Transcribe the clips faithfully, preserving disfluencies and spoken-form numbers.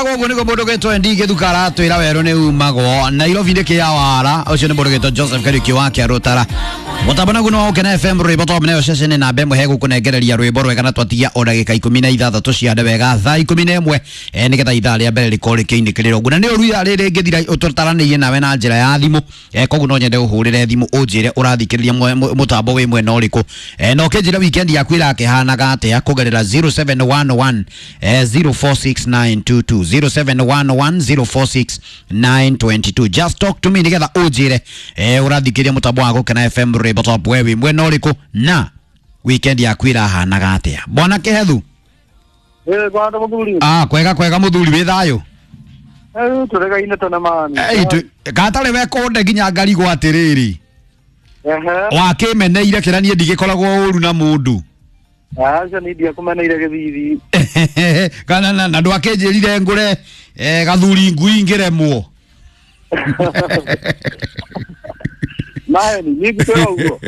Hago nĩguo mũndũ gwĩtwo N D Gĩthuka aratwĩra werũ nĩ umagwo Nairobi nĩ kĩa wara. Ũcio nĩ mũndũ gwĩtwo Joseph Kariuki wa Kĩarũtara. Mũtambo naguo nĩ wa Ũkena F M, rwĩmbo top nayo ceceni namba ĩmwe hegũkũnengereria rwĩmbo rwega, na twatigia o ndagĩka ikũmi na ithathatũ ciande wega thaa ikũmi na ĩmwe, eh, nĩgetha ithaa rĩa mbere rĩkorwo rĩkĩinĩkĩrĩra ũguo. Na nĩ ũru ithaa rĩrĩ ngĩthira tũtaranĩirie nawe na njĩra ya thimũ, eh, koguo no nyende ũhũrĩre thimũ ũnjĩre ũrathikĩrĩria mũtambo wĩ mwena ũrĩkũ, eh, na ũkĩnjĩra weekend yaku ĩrakĩhanaga atĩa kũgerera zero seven one one eh, zero four six nine two two, zero seven one one zero four six nine two two. Just talk to me nĩgetha ũnjĩre eh, ũrathikĩrĩria mũtambo wa Gũkena F M rwĩmbo top, we wĩ mwena ũrĩkũ na weekend yaku ĩrahanaga atĩa, bwana Kĩhethu. Eh, kwanda muthuri. Ah, kwega kwega muthuri, wĩ thayũ? Eh, turegaine tene mani. Ei, gatarĩ we kũnde nginya ngarigwo atĩrĩrĩ. Ehe. Wakĩmeneire kĩra niĩ ndigĩkoragwo ũru na mũndũ. Aca, ni ndiakũmeneire gĩthithi. Kana na na ndwakĩnjĩrire ngũre eh, gathuri ngui ngĩremwo. Nae ni niĩ ngũkwĩra ũguo.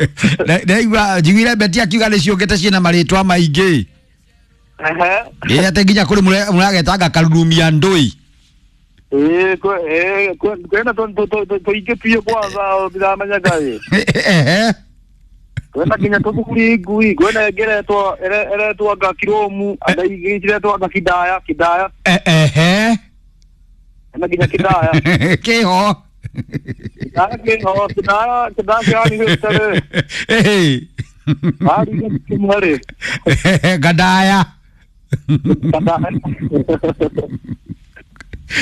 Ndaigua njiguire Beti akiuga nĩ ciũkĩte ciĩna marĩtwa maingĩ. Ehe. Ĩ atĩ nginya kũrĩ mũragetanga karurumia ndũi. Ĩĩ, kwĩ- ĩĩ, kwĩna tũingĩ biũ kwanza ndiramenyaga ĩ. Ehe. Kwĩna nginya tũthuri ngui, kwĩna ĩngĩ ĩretwo ĩretwo anga kiromu, anga ingĩ ciretwo anga kidaya, kidaya. Ehe. Kwĩna nginya kidaya. Kĩho. Kidaya kĩho, kidaya kidaya kĩrarigĩte rĩ. Ĩhĩ. Arigĩte kĩmwe rĩ. Gandaya. Kandaya.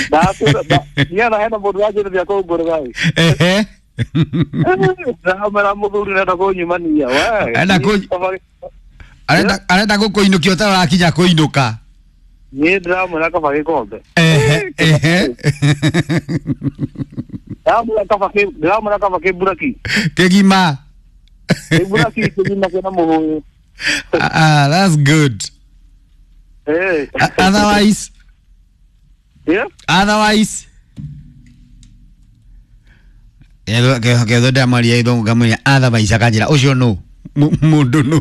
Ndakwĩra hena mũndũ wanjĩrĩria kũngũrĩra ĩ. Ehe. Ndamera mũthuri nenda kũnyumania we. Enda kũ- arenda arenda gũkũinũkia ũtarakinya kũinũka. Niĩ ndĩramwĩra kaba gĩkombe. Ehe ehe. Ndĩramwĩra kaba kĩ ndĩramwĩra kaba kĩmburaki. Kĩgima. Kĩmburaki kĩgima kĩna mũhũyũ. Ah, that's good. Eh. Otherwise? Yeah. Otherwise ketho ndamaria ithongo ngamwĩra otherwise akanjĩra ũcio nũ mũndũ nũ.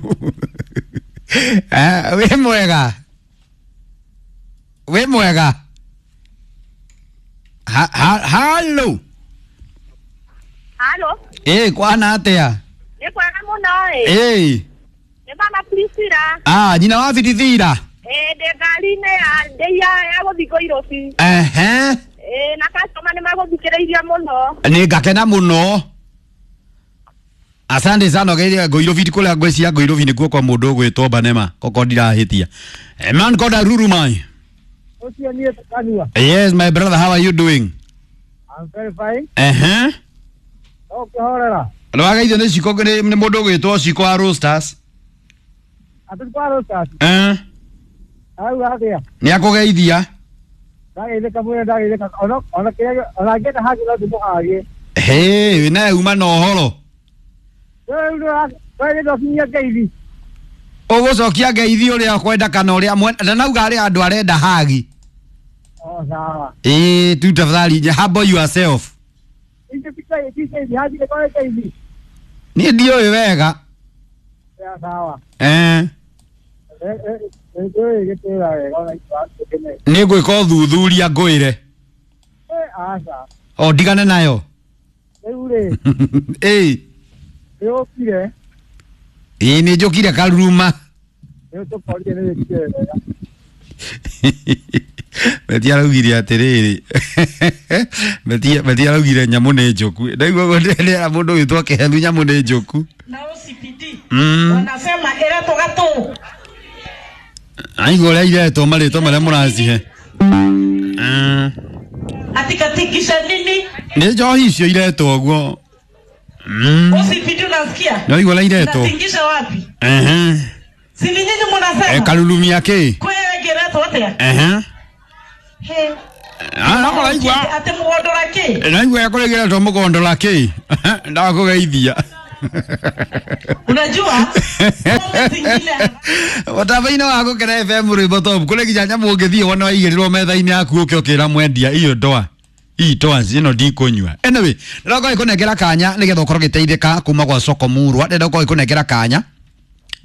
Eh, wĩ mwega, wĩ mwega. Ha- ha- halo. Halo. Ĩ kwana atĩa? Nĩ kwega mũno ĩ. Ĩ. Nĩ mama Priscilla. Ah, nyina wa Bithithira. Ĩ, ndĩ ngari-inĩ ya ndĩ ya ya gũthiĩ Nairobi. Ehe. Ĩ, na customer nĩ magũthikĩrĩirie mũno. Nĩ ngakena mũno, asante sana. Geire Ngoirobi kũrĩa ngwĩciria Ngoirobi nĩkuo kwa mũndũ ũgwĩtwo Banema koko ndirahĩtia. Eh, man koda rurumai. Ũcio niĩ Kanua. Yes, my brother, how are you doing? I'm very fine. Ehe. No kĩhorera. Nĩwageithio nĩ Ciko, nĩ nĩ mũndũ ũgwĩtwo Ciko wa Roasters. Atĩ kwa Roasters. Eh. Arauga atĩa? Nĩ akũgeithia. Ndageithĩka mwene, ndageithĩka. Ona ona kĩrĩa ona ngĩenda hagi no ndĩmũhagie. Hĩ, wĩnaye uma na ũhoro. Rĩu nĩ ndokinyia ngeithi. Ũgũcokia ngeithi ũrĩa ũkwenda kana ũrĩa mwe- ndanauga arĩ andũ arenda hagi. O sawa. Ĩĩ tu, tafadhali humble yourself. Icio ti ti ngeithi, hagi nĩ kwa ngeithi. Niĩ ndiũĩ wega. Ya sawa. Eh. Nĩ gĩtĩra wega ona itũkene. Nĩ ngwĩka ũthuthuria ngwĩre. Eh, aca. O ndigane nayo. Rĩu rĩ, Ĩĩ. nĩ ũkire. Ĩĩ, nĩ njũkire karuruma. Nĩ ũtũkorire, nĩ wĩkire wega. Beti araugire atĩrĩrĩ, Beti Beti araugire nyamũ nĩ njũku. Ndaigua ũguo ndĩrera mũndũ wĩtwo Kĩhethu nyamũ nĩ njũku. Na O C P D Mm. wanasema iretwo gatu. Aigua ũrĩa iretwo marĩtwa marĩa mũracihe. Mm. Atikatikisha nini? Nĩ njohi icio iretwo ũguo. Mm. O C P D, unasikia? Naigua ũrĩa iretwo. Natingisha wapi? Ehe. Si ni nyinyi Eh, munasema karurumia kĩ? kwegeretwo atia? Ehe. He. Ah, no mũraigua. Ati mugondora ki? Naigua kũrĩgĩretwo mũgondola kĩ? Ndakũgeithia. Unajua pombe zingine Mũtambo-inĩ wa Gũkena F M rwĩmbo top, kũrĩ nginya nyamũ ũngĩthiĩ wona waigĩrĩrwo metha-inĩ yaku ũke ũkĩra mwendia iyo ndoa ii toa ĩno ndikũnyua. Anyway, ndĩrokorwo ĩkũnengera kanya nĩgetha ũkorwo ũgĩteithĩka kuma gwa soko murwa. Ndĩrokorwo ĩkũnengera kanya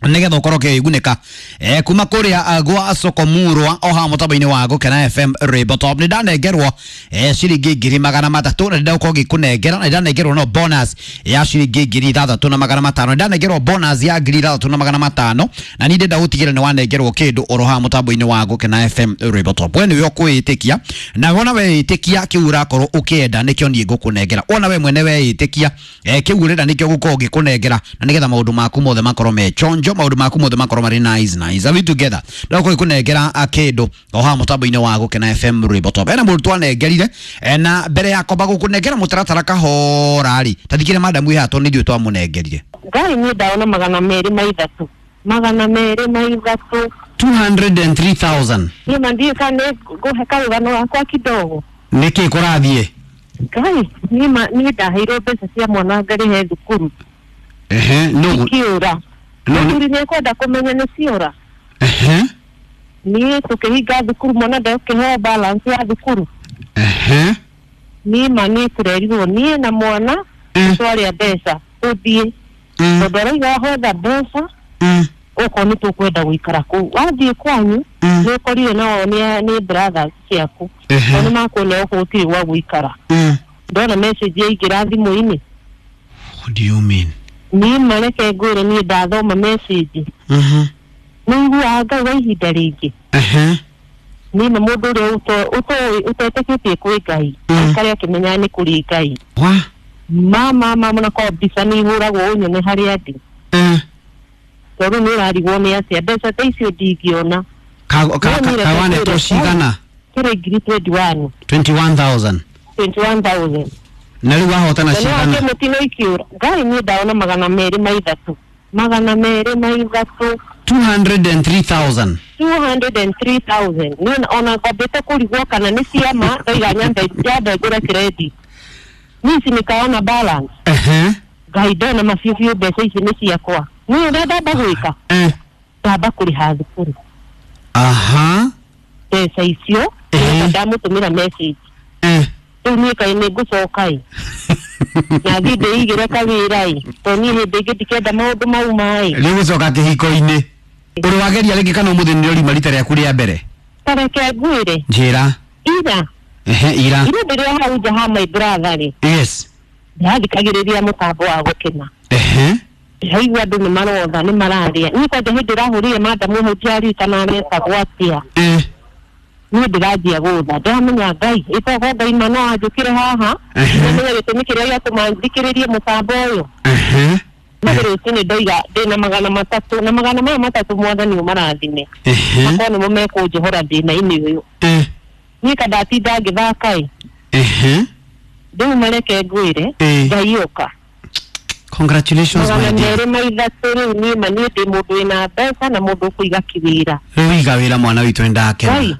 Nigetha ukorwo ũkĩgunĩka eh, kuma kũrĩa uh, gwa Sokomurwa o haha mũtambo-inĩ wa Gũkena F M Rainbow Top. Nĩ ndanengerwo eh, ciringi ngiri magana matatũ na nĩndagũkorwo ngĩkũnengera, na nĩndanengerwo no bonus ya ciringi ngiri ithathatũ na magana matano. Nĩndanengerwo bonus ya ngiri ithathatũ na magana matano na niĩ ndĩrenda gũtigĩrĩra nĩ wanengerwo kĩndũ oro haha mũtambo-inĩ wa Gũkena F M Rainbow Top. We nĩwe ũkwĩĩtĩkia, na wona weĩtĩkia kĩu ũrakorwo ũkĩenda nĩkĩo niĩ ngũkũnengera. Wona we mwene weĩtĩkia eh, kĩu ũrenda nĩkĩo ngũkorwo ngĩkũnengera, na nĩgetha maũndũ maku mothe makorwo me chonjo, maũndũ maku mothe makorwo marĩ nice nice. Are we together? Ndagũkorwo ngĩkũnengera kĩndũ o haha mũtambo-inĩ wa Gũkena F M Rainbow Top. Ena mũndũ twanengerire eh, na mbere ya kwamba gũkũnengera mũtaratara kahora rĩ, ta thikĩrĩria madamu ĩhaha tondũ nĩ ithuĩ twamũnengerire. Ngai niĩ ndaona magana merĩ ma ithatũ, magana merĩ ma ithatũ. two hundred and three thousand. Niĩ ma ndiũĩ kana nĩ ngũhe karũgano gakwa kidogo. Nĩkĩ kũrathiĩ? Ngai niĩ ma niĩ ndaheirwo mbeca cia mwana ngarĩhe thukuru. Ehe, no. Ikiũra. No, Mũthuri nĩ ekwenda kũmenya nĩ ciora. Ehe. Niĩ tũkĩhinga thukuru mwana ndekũheo balance ya thukuru. Ehe. Niĩ ma niĩ tũrerirwo niĩ na mwana Mm. twarĩa mbeca tũthiĩ. Mm. Tondũ arauga wahotha mbeca Mm. okorwo nĩ tũkwenda gũikara kũu. Wathiĩ kwanyu Mm. nĩ ũkorire nao nĩ nĩ brothers ciaku. Ehe. Tondũ nĩmakuonia gũkũ gũtirĩ gwa gũikara. Mm. Ndona message yaingĩra thimũ-inĩ. What do you mean? Niĩ mareke ngwĩre niĩ ndathoma message. Mhm. Nĩ iguaga Ngai wa ihinda rĩngĩ. Ehe. Niĩ na mũndũ ũrĩa ũto- ũtoĩ ũtetĩkĩtie kwĩ Ngai. Mm. Aikare akĩmenyaga nĩ kũrĩ Ngai. Wa? Mama mama na kwa mbica nĩ ihũragwo ũnyone harĩa ndĩ. Eh. Tondũ nĩ ũrarigwo nĩ atĩa mbeca ta icio ndingĩona. Ka ka No, niĩ reke kawanetwo ngwĩre, cigana? Kĩrĩ ngiri twenty one. twenty one thousand. Twenty one thousand. Na rĩu wahotana Na nĩ cigana? wake mũtino ikiũra. Ngai niĩ ndaona magana merĩ ma ithatũ. Magana merĩ ma ithatũ. two hundred and three thousand. two hundred and three thousand. Niĩ ona ngwambĩte kũrigwo kana nĩ ciama ndaiga nyambe nyambe ngũre credit. Niĩ ici nĩkaona balance. Ehe. Ngai ndona mabiũ biũ mbeca ici nĩ ciakwa. Niĩ ũrĩa ndamba gwĩka? Eh. Ndamba kũrĩha thukuru. Aha. Mbeca icio Ehe. ndamũtũmĩra message. Eh. Rĩu niĩ kaĩ nĩ ngũcoka ĩ. Na thiĩ ndĩigĩre kawĩra ĩ. Tondũ niĩ hĩndĩ ĩngĩ ndikenda maũndũ mau ma ĩ. Rĩu gũcoka kĩhiko-inĩ. Ũrĩ wageria rĩngĩ kana ũmũthĩ nĩ ũrima rita rĩaku rĩa mbere? Ta reke ngwĩre. Njĩra. Ira. Ehe, ira. Ira ndĩrĩ o hau nja ha my brother rĩ. Yes. Ndĩrathikagĩrĩria mũtambo wa Gũkena. Ehe. Ndĩraigua andũ nĩ marotha nĩ mararĩa. Niĩ kwanja hĩndĩ ĩrahũrire madamu hau ndiaririkana aretagwo atĩa. Eh. Niĩ ndĩranjia gũtha. Ndĩramenya Ngai ĩtogo Ngai ma no anjũkĩre haha. Ehe. Ndĩramenya gĩtũmi kĩrĩa gĩatũma thikĩrĩrie mũtambo ũyũ. Ehe. Mathĩ rũcinĩ ndoiga ndĩna magana matatũ na magana maya matatũ mwathani ũmarathime. Ehe. Makorwo nĩmo mekũnjohora thĩna-inĩ ũyũ. Eh. Niĩ ka ndatinda ngĩthaka ĩ. Ehe. Rĩu mareke ngwĩre Eh. Ngai ũka. Congratulations my Magana dear. merĩ ma ithatũ rĩu niĩ ma niĩ ndĩ mũndũ wĩna mbeca na mũndũ ũkũiga kĩwĩra. Rĩu iga wĩra mwana witũ nĩndakena. Ngai.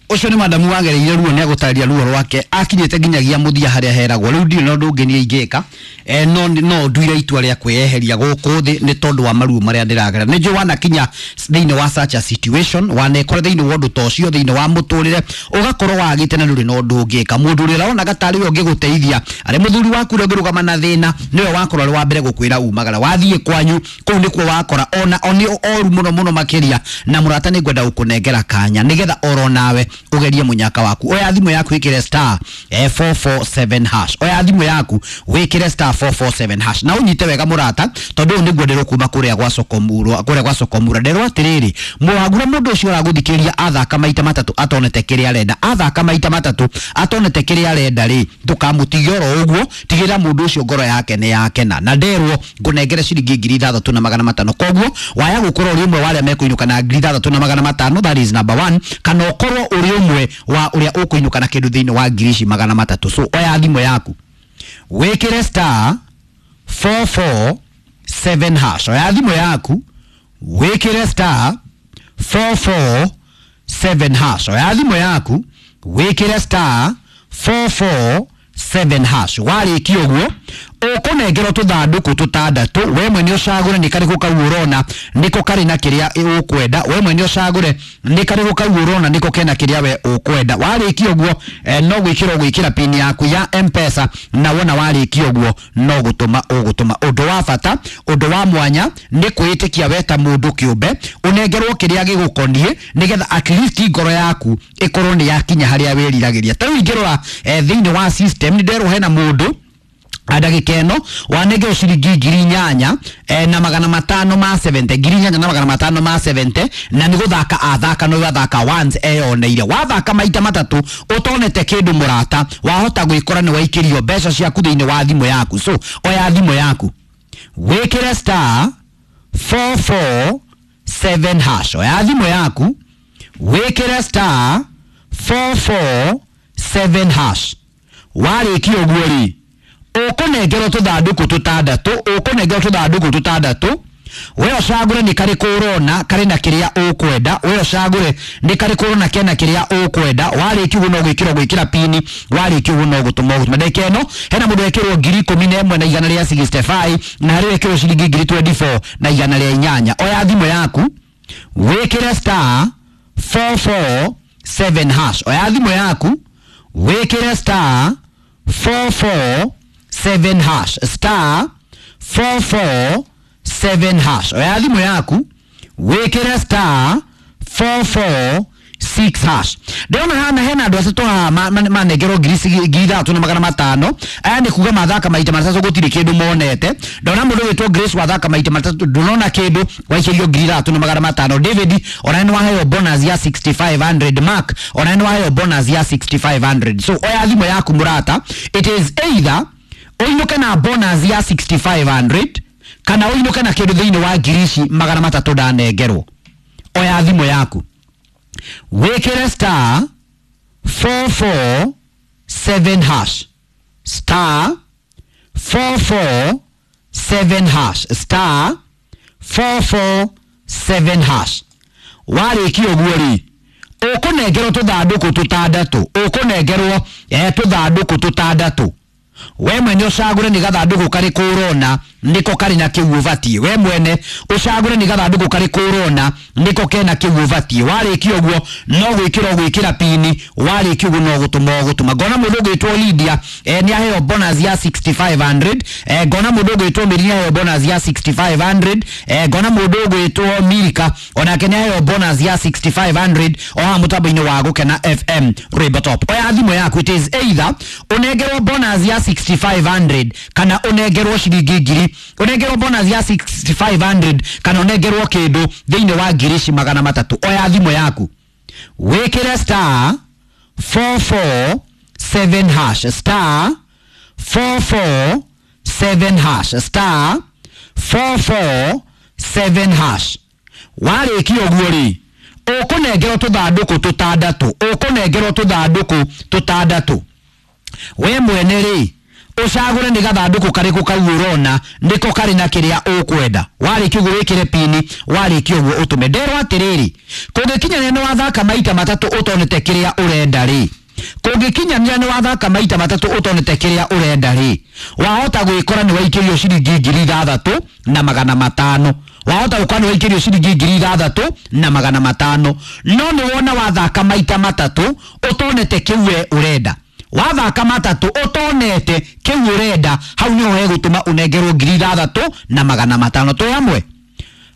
Ũcio nĩ madamu wagereire ruo nĩ agũtarĩria ruo rwake akinyĩte nginyagia mũthia harĩa heragwo. Rĩu ndirĩ na ũndũ ũngĩ niĩ ingĩka eh, no no nduire itua rĩa kwĩyeheria gũkũ thĩ nĩ tondũ wa maruo marĩa ndĩragerera. Nĩ njũĩ wanakinya thĩinĩ wa such a situation, wanekora thĩinĩ wa ũndũ ta ũcio thĩinĩ wa mũtũrĩre ũgakorwo wagĩte na ndũrĩ na ũndũ ũngĩka. Mũndũ ũrĩa ũronaga tarĩ we ũngĩgũteithia arĩ mũthuri waku ũrĩa ũngĩrũgama na thĩna nĩwe wakorwo arĩ wa mbere gũkwĩra umagara wathiĩ kwanyu kũu nĩkuo wakora ona o nĩ oru mũno mũno makĩria. Na mũrata nĩ ngwenda gũkũnengera kanya nĩgetha oro nawe ũgerie mũnyaka waku. Oya thimũ yaku wĩkĩre star eh, four four seven hash. Oya thimũ yaku wĩkĩre star four four seven hash na ũnyite wega mũrata tondũ ũyũ nĩguo ndĩrwo kuma kũrĩa gwa Sokomurwa, kũrĩa gwa Sokomura. Nderwo atĩrĩrĩ, mũhagura mũndũ ũcio ũragũthikĩrĩria athaka maita matatũ atonete kĩrĩa arenda, athaka maita matatũ atonete kĩrĩa arenda rĩ, ndũkamũtige oro ũguo, tigĩrĩra mũndũ ũcio ngoro yake nĩ yakena. Na nderwo ngũnengere ciringi ngiri ithathatũ na magana matano. Koguo waya gũkorwo ũrĩ ũmwe wa arĩa mekũinũka na ngiri ithathatũ na magana matano, that is number one, kana ũkorwo ũrĩ ũmwe wa ũrĩa ũkũinũka na kĩndũ thĩinĩ wa ngiri ici magana matatũ. So oya thimũ yaku wĩkĩre star four four seven hash. Oya thimũ yaku wĩkĩre star four four seven hash. Oya thimũ yaku wĩkĩre star four four seven hash. Warĩkia ũguo Ũkũnengerwo tũthandũkũ tũtandatũ, we mwene ũcagũre nĩ karĩkũ kau ũrona nĩko karĩ na kĩrĩa ũkwenda. We mwene ũcagũre nĩ karĩkũ kau ũrona nĩko kena kĩrĩa we ũkwenda. Warĩkia ũguo eh, no gwĩkĩra ũgwĩkĩra pin yaku ya M-Pesa, na wona warĩkia ũguo no gũtũma ũgũtũma. Ũndũ wa bata, ũndũ wa mwanya nĩ kwĩĩtĩkia we ta mũndũ kĩũmbe ũnengerwo kĩrĩa gĩgũkoniĩ, nĩgetha at least ngoro yaku ĩkorwo nĩ yakinya harĩa wĩriragĩria. Ta rĩu ingĩrora eh, thĩinĩ wa system nĩ nderwo hena mũndũ ndagĩka ĩno wanengerwo ciringi ngiri inyanya eh, na magana matano ma seventy, ngiri inyanya na magana matano ma seventy, na nĩ gũthaka athaka no athaka once eyoneire. Wathaka maita matatũ ũtonete kĩndũ mũrata, wahota gwĩkora nĩ waikĩrio mbeca ciaku thĩinĩ wa thimũ yaku. So oya thimũ yaku wĩkĩre star four four seven hash. Oya thimũ yaku wĩkĩre star four four seven hash. Warĩkia ũguo rĩ, ũkũnengerwo tũthandũkũ tũtandatũ, ũkũnengerwo tũthandũkũ tũtandatũ, we ũcagũre nĩ karĩkũ ũrona karĩ na kĩrĩa ũkwenda. We ũcagũre nĩ karĩkũ ũrona kena kĩrĩa ũkwenda. Warĩkia ũguo no gwĩkĩra gwĩkĩra pini, warĩkia ũguo no gũtũma ũgũtũma. Ndagĩka ĩno hena mũndũ wekĩrwo ngiri ikũmi na ĩmwe na igana rĩa sixty five, na harĩ wekĩrwo ciringi ngiri twenty four na igana rĩa inyanya. Oya thimũ yaku wĩkĩre star four four seven hash. Oya thimũ yaku wĩkĩre star four four seven hash, star four four seven hash. Oya thimũ yaku wĩkĩre star four four six hash. Ndĩrona hana hena andũ atatũ haha manengerwo ngiri ithatũ na magana matano. Aya nĩ kuga mathaka maita matatũ gũtirĩ kĩndũ monete. Ndona mũndũ wĩtwo Grace wathaka maita matatũ ndũnona kĩndũ, waikĩrio ngiri ithatũ na magana matano. David ona nĩ waheo bonus ya sixty five hundred. Mark ona nĩ waheo bonus ya sixty five hundred. So oya thimũ yaku mũrata, it is either ũinũke na bonus ya sixty five hundred kana ũinũke na kĩndũ thĩinĩ wa ngiri ici magana matatũ ndanengerwo. Oya thimũ yaku wĩkĩre star four four seven hash, star four four seven hash, star four four seven hash. Warĩkia ũguo rĩ, ũkũnengerwo tũthandũkũ tũtandatũ, ũkũnengerwo eh, tũthandũkũ tũtandatũ. We mwene ũcagũre nĩ gathandũkũ karĩkũ ũrona nĩko karĩ na kĩu ũbatiĩ. We mwene ũcagũre nĩ gathandũkũ karĩkũ ũrona nĩko kena kĩu ũbatiĩ. Warĩkia ũguo no gwĩkĩra ũgwĩkĩra pini, warĩkia ũguo no gũtũma ũgũtũma. Ngona mũndũ ũgwĩtwo Lydia eh, nĩ aheo bonus ya sixty five hundred. Eh, ngona mũndũ ũgwĩtwo Mary nĩ aheo bonus ya sixty five hundred. Eh, ngona mũndũ ũgwĩtwo Milka onake nĩ aheo bonus ya sixty five hundred o haha mũtambo-inĩ wa Gũkena F M Rwĩmbo Top. Oya thimũ yaku, it is either ũnengerwo bonus ya sixty five hundred kana ũnengerwo ciringi ngiri, ũnengerwo bonus ya sixty five hundred kana ũnengerwo kĩndũ thĩinĩ wa ngiri ici magana matatũ. Oya thimũ yaku wĩkĩre star four four seven hash, star four four seven hash, star four four seven hash. Warĩkia ũguo rĩ, ũkũnengerwo tũthandũkũ tũtandatũ, ũkũnengerwo tũthandũkũ tũtandatũ. We mwene rĩ, ũcagũre nĩ gathandũkũ karĩkũ kau ũrona nĩko karĩ na kĩrĩa ũkwenda. Warĩkia ũguo wĩkĩre pini, warĩkia ũguo ũtũme. Nderwo atĩrĩrĩ, kũngĩkinyanĩra nĩ wathaka maita matatũ ũtonete kĩrĩa ũrenda rĩ, kũngĩkinyanĩra nĩ wathaka maita matatũ ũtonete kĩrĩa ũrenda rĩ, wahota gwĩkora nĩ waikĩrio ciringi ngiri ithathatũ na magana matano. Wahota gũkorwo nĩ waikĩrio ciringi ngiri ithathatũ na magana matano, no nĩ wona wathaka maita matatũ ũtonete kĩu we ũrenda. Wathaka matatũ ũtonete kĩu ũrenda, hau nĩho hegũtũma ũnengerwo ngiri ithathatũ na magana matano. Twĩ hamwe?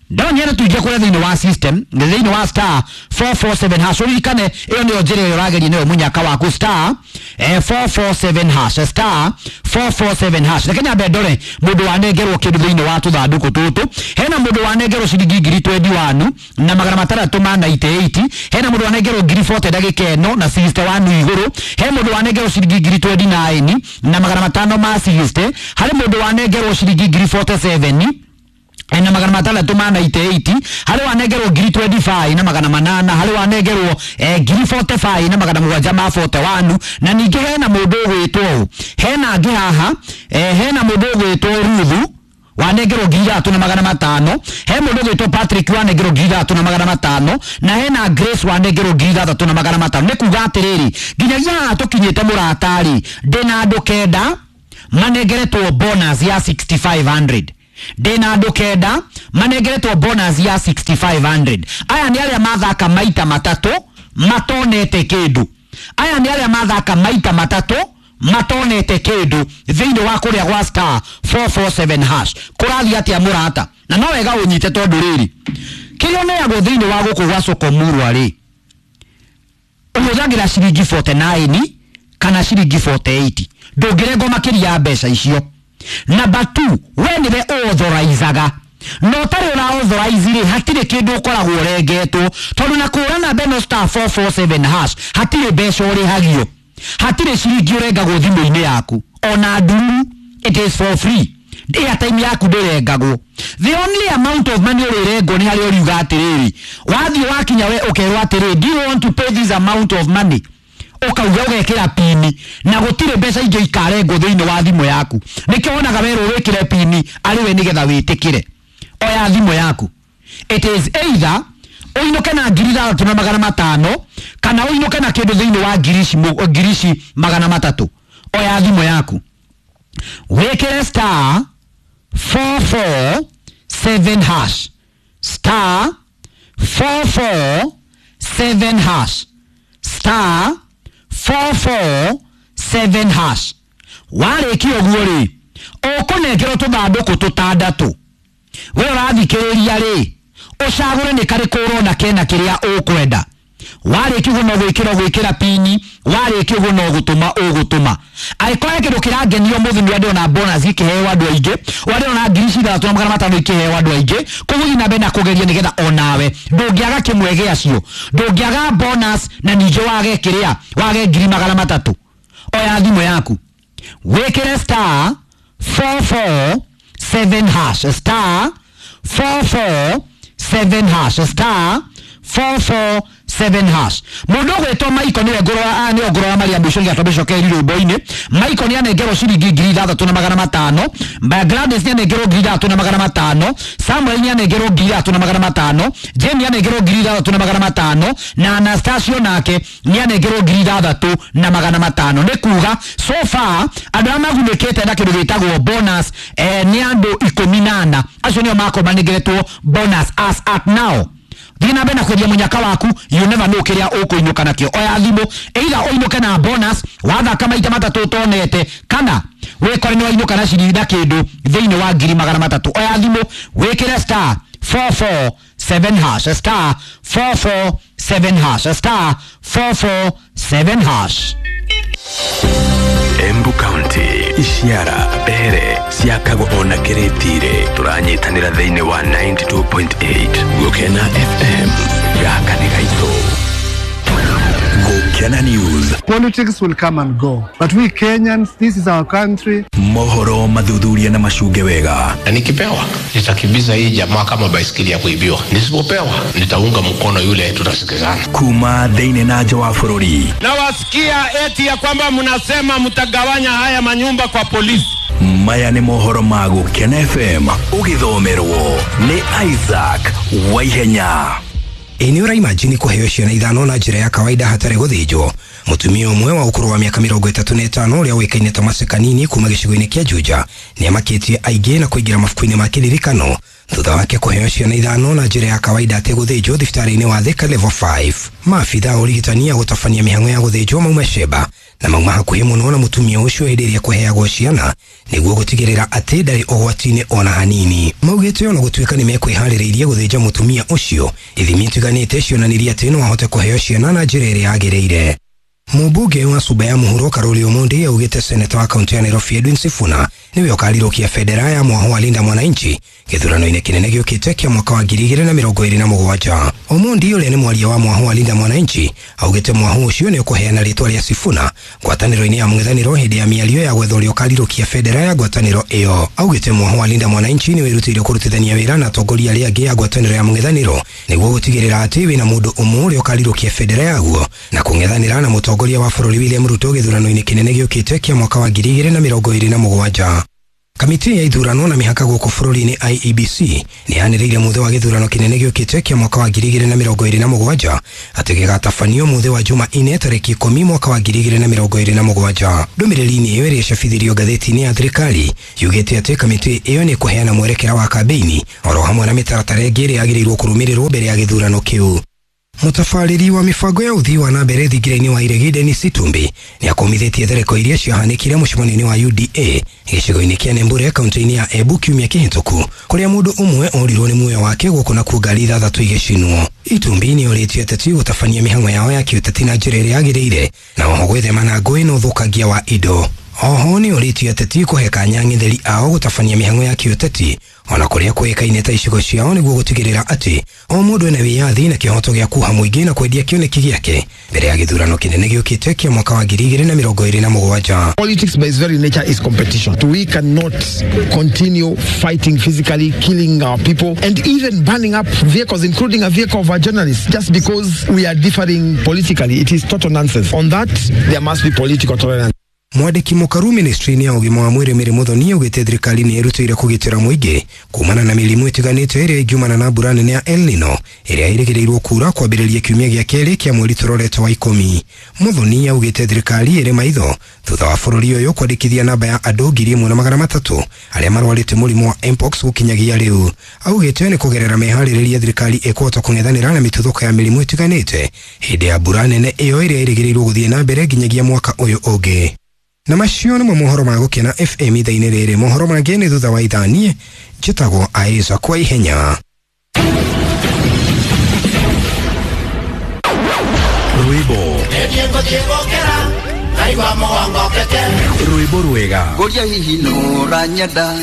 Ndonyere tuingie kũrĩa thĩinĩ wa system, thĩinĩ wa star four four seven hash. Ũririkane ĩyo nĩyo njĩra ĩrĩa ũrageria nayo mũnyaka waku, star eh, four four seven hash, star four four seven hash. Reke nyambe ndore mũndũ wanengerwo kĩndũ thĩinĩ wa tũthandũkũ tũtũ. Hena mũndũ wanengerwo ciringi ngiri twenty one na magana matandatũ ma ninety eight. Hena mũndũ wanengerwo ngiri forty ndagĩka ĩno na sixty one igũrũ. He mũndũ wanengerwo ciringi ngiri twenty nine na magana matano ma sixty. Harĩ mũndũ wanengerwo ciringi ngiri forty seven na magana matandatũ ma ninety eight. Harĩ wanengerwo ngiri twenty five na magana manana. Harĩ wanengerwo eh, ngiri forty five na magana mũgwanja ma forty one. Na ningĩ hena mũndũ ũgwĩtwo ũũ, hena angĩ haha eh, hena mũndũ ũgwĩtwo Ruthu wanengerwo ngiri ithatũ na magana matano. He mũndũ ũgwĩtwo Patrick wanengerwo ngiri ithatũ na magana matano, na hena Grace wanengerwo ngiri ithathatũ na magana matano. Nĩ kuga atĩrĩrĩ, nginyagia haha tũkinyĩte mũrata-rĩ, ndĩna andũ kenda manengeretwo bonus ya six thousand five hundred. Ndĩna andũ kenda manengeretwo bonus ya six thousand five hundred. Aya nĩ arĩa mathaka maita matatũ matonete kĩndũ. Aya nĩ arĩa mathaka maita matatũ matonete kĩndũ thĩinĩ wa kũrĩa gwa star four four seven hash. Kũrathiĩ atĩa mũrata? Na no wega ũnyite tondũ rĩrĩ, kĩrĩa ũneagwo thĩinĩ wa gũkũ gwa Sokomurwa rĩ, ũhũthagĩra ciringi forty-nine kana ciringi forty-eight. Ndũngĩrengwo makĩria ya mbeca icio. Number two, we nĩwe ũauthorizaga. No ũtarĩ ũra authorize rĩ, hatirĩ kĩndũ ũkoragwo ũrengetwo, tondũ na kũra namba ĩno star four four seven hash hatirĩ mbeca ũrĩhagio, hatirĩ ciringi ũrengagwo thimũ-inĩ yaku, ona nduru, it is for free. Airtime yaku ndĩrengagwo. The only amount of money ũrĩrengwo nĩ harĩa ũriuga atĩrĩrĩ, wathiĩ wakinya we ũkerwo atĩrĩrĩ, do you want to pay this amount of money? Ũkauga ũgekĩra pini, na gũtirĩ mbeca ingĩ ikarengwo thĩinĩ wa thimũ yaku. Nĩkĩo wonaga werwo wĩkĩre pini arĩ we nĩgetha wĩtĩkĩre. Oya thimũ yaku. It is either ũinũke na ngiri ithathatũ na magana matano kana ũinũke na kĩndũ thĩinĩ wa ngiri ici mũ-, ngiri ici magana matatũ. Oya thimũ yaku, wĩkĩre star four four seven hash, star four four seven hash, star four four seven hash. Warĩkia ũguo rĩ, ũkũnengerwo tũthandũkũ tũtandatũ. We ũrathikĩrĩria rĩ, ũcagũre nĩ karĩkũ ũrona kena kĩrĩa ũkwenda. Warĩkia ũguo no gwĩkĩra ũgwĩkĩra pini, warĩkia ũguo no gũtũma ũgũtũma. Angĩkorwo he kĩndũ kĩrangenio ũmũthĩ nĩ ndĩrona bonus ikĩheo andũ aingĩ, ndĩrona ngiri ithathatũ na magana matano ikĩheo andũ aingĩ, koguo thiĩ na mbere na kũgeria nĩgetha onawe ndũngĩaga kĩmwe gĩacio, ndũngĩaga bonus na ningĩ wage kĩrĩa, wage ngiri magana matatũ. Oya thimũ yaku, wĩkĩre star four four seven hash, star four four seven hash, star four four seven hash. Mũndũ ũgwĩtwo Michael nĩwe ngũrora, nĩwe ngũrora maria mũico nĩgetha twambe cokeri rwĩmbo-inĩ. Michael nĩ anengerwo ciringi ngiri ithathatũ na magana matano. Gladys nĩ anengerwo ngiri ithathatũ na magana matano. Samuel nĩ anengerwo ngiri ithathatũ na magana matano. Jane nĩ anengerwo ngiri ithathatũ na magana matano. Na Anastasio nake nĩ anengerwo ngiri ithathatũ na magana matano. Nĩ kuga so far andũ arĩa magunĩkĩte na kĩndũ gĩtagwo bonus, eh, nĩ andũ ikũmi na ana. Acio nĩo makorwo manengeretwo bonus as at now. Thiĩ na mbere na kwendia mũnyaka waku, you never know kĩrĩa ũkũinũka nakĩo. Oya thimũ, either ũinũke na bonus wathaka maita matatũ ũtonete, kana wĩkore nĩ wainũka na ciringi na kĩndũ thĩinĩ wa ngiri magana matatũ. Oya thimũ, wĩkĩre star four four seven hash, star four four seven hash, star four four seven hash. Embu County, Ishiara, Mbere, ciakagwo ona Kĩrĩtire. Tũranyitanĩra thĩinĩ wa ninety-two point eight Gũkena F M. Gaka nĩ gaitũ. Gũkena News. Politics will come and go, but we Kenyans, this is our country. Mohoro mathuthuria na macunge wega. Na nikipewa nitakimbiza hii jamaa kama baisikeli ya kuibiwa. Nisipopewa nitaunga mkono yule, tutasikizana. Kuma thĩinĩ na nja wa bũrũri. Nawasikia eti ya kwamba mnasema mtagawanya haya manyumba kwa polisi. Maya nĩ mohoro ma Gũkena F M ũgĩthomerwo nĩ Isaac Waihenya. Ĩ nĩ ũraimajini kũheo ciana ithano na njĩra ya kawaida hatarĩ gũthĩnjwo? Mũtumia ũmwe wa ũkũrũ wa mĩaka mĩrongo ĩtatũ na ĩtano ũrĩa ũĩkaine ta Maseka Nini kuma gĩcigo-inĩ kĩa Juja nĩamakĩtie aingĩ na kũingĩra mabuku-inĩ ma kĩririkano thutha wake kũheo ciana ithano na njĩra ya kawaida ategũthĩnjwo thibitarĩ-inĩ wa Thika Level five. Maabitha a ũrigitani a gũtabania mĩhang'o ya gũthĩnjwo mauma Sheba na mauma hakuhĩ mũno na mũtumia ũcio hĩndĩ ĩrĩa kũheagwo ciana nĩguo gũtigĩrĩra atĩ ndarĩ ũgwati-inĩ ona hanini. Maugĩte ona gũtuĩka nĩ mekwĩharĩrĩirie gũthĩnja mũtumia ũcio, ithimi itiganĩte cionanirie atĩ no ahote kũheo ciana na njĩra ĩrĩa yagĩrĩire. Mũmbunge wa Suba ya Mũhuro Karoli Omondi augĩte seneta wa kaunti ya Nairobi Edwin Sifuna nĩwe ũkarirũkia bendera ya mwaho wa Linda Mwananchi gĩthurano-inĩ kĩnene gĩũkĩte kĩa mwaka wa ngiri igĩrĩ na mĩrongo ĩrĩ na mũgwanja. Omondi ũrĩa nĩ mwaria wa mwaho wa Linda Mwananchi augĩte mwaho ũcio nĩ ũkũheana rĩtwa rĩa Sifuna ngwatanĩro-inĩ ya mũng'ethanĩro hĩndĩ ya mĩario ya gwetha ũrĩa ũkarirũkia bendera ya ngwatanĩro ĩyo. Augĩte mwaho wa Linda Mwananchi nĩ wĩrutĩire kũrutithania wĩra na atongoria arĩa angĩ a ngwatanĩro ya mũng'ethanĩro nĩguo gũtigĩrĩra atĩ wĩna mũndũ ũmwe ũrĩa ũkarirũkia bendera yaguo na kũng'ethanĩra na mũtongoria wa bũrũri William Ruto gĩthurano-inĩ kĩnene gĩũkĩte kĩa mwaka wa ngiri igĩrĩ na mĩrongo ĩrĩ na mũgwanja. Kamĩtĩ ya ithurano na mĩhaka gũkũ bũrũri-inĩ I E B C nĩ yanĩrĩire mũthĩ wa gĩthurano kĩnene gĩũkĩte kĩa mwaka wa ngiri igĩrĩ na mĩrongo ĩrĩ na mũgwanja atĩ gĩgatabanio mũthĩ wa Jumaine tarĩki ikũmi mwaka wa ngiri igĩrĩ na mĩrongo ĩrĩ na mũgwanja. Ndũmĩrĩri-inĩ ĩyo ĩrĩa ĩcabithirio ngathĩti-inĩ ya thirikari yugĩte atĩ kamĩtĩ ĩyo nĩ ĩkũheana mwerekera wa kambĩini oro hamwe na mĩtaratara ĩngĩ ĩrĩa yagĩrĩirwo kũrũmĩrĩrwo mbere ya gĩthurano kĩu. Mũtabarĩri wa mĩbango ya ũthii wa na mbere thingira-inĩ wa Iregi Dennis Itumbi nĩ akomithĩtie thereko iria ciahanĩkire mũcemanio-inĩ wa U D A gĩcigo-inĩ kĩa Nembure kaunti-inĩ ya Embu kiumia kĩhĩtũku kũrĩa mũndũ ũmwe orirwo nĩ muoyo wake gũkũ nakuo ngari ithathatũ igĩcinwo. Itumbi nĩ orĩtie ateti gũtabania mĩhang'o yao ya kĩũteti na njĩra ĩrĩa yagĩrĩire na oho gwĩthema na ngũĩ na ũthũkangia wa indo. Oho nĩ orĩtie ateti kũhe kanya ang'etheri ao gũtabania mĩhang'o ya kĩũteti ona kũrĩa kũĩkaine ta icigo ciao nĩguo gũtigĩrĩra atĩ o mũndũ ena wĩyathi na kĩhoto gĩa kuha mũingĩ na kwendia kĩoneki gĩake mbere ya gĩthurano kĩnene gĩũkĩte kĩa mwaka wa ngiri igĩrĩ na mĩrongo ĩrĩ na mũgwanja. Politics by its very nature is competition. We cannot continue fighting physically, killing our people and even burning up vehicles, including a vehicle of our journalists, just because we are differing politically. It is total nonsense. On that, there must be political tolerance. Mwandĩki mũkaru ministry-inĩ ya ũgima wa mwĩrĩ Mary Muthoni augĩte thirikari nĩ ĩrutĩire kũgitĩra mũingĩ kumana na mĩrimũ ĩtiganĩte ĩrĩa ĩngiumana na mbura nene ya El Nino ĩrĩa ĩrĩgĩrĩirwo kuura kwambĩrĩria kiumia gĩa kerĩ kĩa mweri tũrorete wa ikũmi. Muthoni augĩte thirikari ĩrĩ maitho thutha wa bũrũri ũyũ kwandĩkithia namba ya andũ ngiri ĩmwe na magana matatũ arĩa marwarĩte mũrimũ wa Mpox gũkinyagia rĩu. Augĩte nĩ kũgerera meharĩrĩria thirikari ĩkũhota kũng'ethanĩra na mĩtuthũko ya mĩrimũ ĩtiganĩte hĩndĩ ya mbura nene ĩyo ĩrĩa ĩrĩgĩrĩirwo gũthiĩ na mbere nginyagia mwaka ũyũ ũngĩ. Na macio nĩmo mohoro ma Gũkena F M ithaa-inĩ rĩrĩ. Mohoro mangĩ nĩ thutha wa ithaa. Niĩ njĩtagwo Aiza kwa ihenya. Rwĩmbo rwĩmbo rwega ngũria hihi nũranyenda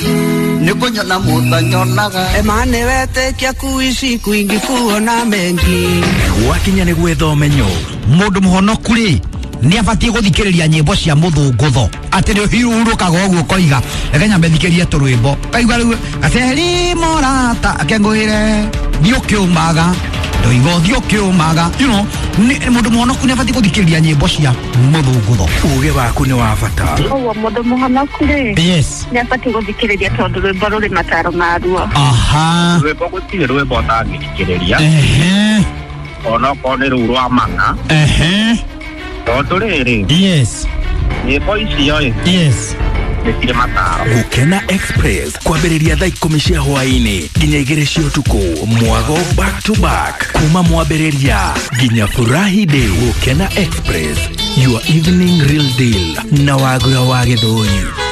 nĩ kũnyona mũtanyonaga emane wetĩkia kuici kwingi kuona mengi gwakinya nĩ gwetha ũmenyo. Mũndũ mũhonoku rĩ nĩ abatiĩ gũthikĩrĩria nyĩmbo cia mũthũngũtho atĩ nĩ ũhurũkaga ũguo ũkoiga reke nyambe thikĩrie tũrwĩmbo kaigua rĩu gaceri mũrata akengũĩre thiĩ ũkĩũmaga ndoiga ũthiĩ ũkĩũmaga you know mũndũ mũhonoku nĩ abatiĩ gũthikĩrĩria nyĩmbo cia mũthũngũtho. Ũgĩ waku nĩ wa bata. Ũguo mũndũ mũhonoku rĩ yes nĩ abatiĩ gũthikĩrĩria tondũ rwĩmbo rũrĩ mataro maruo. Aha, rwĩmbo gũtirĩ rwĩmbo ũtangĩthikĩrĩria ehe onokorwo nĩ rũu rwa mang'a ehe tondũ rĩrĩ yes nyĩmbo icio ĩ yes nĩ cirĩ mataro. Gũkena Express kwambĩrĩria thaa ikũmi cia hwaĩ-inĩ nginya igĩrĩ cia ũtukũ mwago back to back kuma mwambĩrĩria nginya furahi day. Gũkena Express, your evening real deal na Wagura wa Gĩthũri.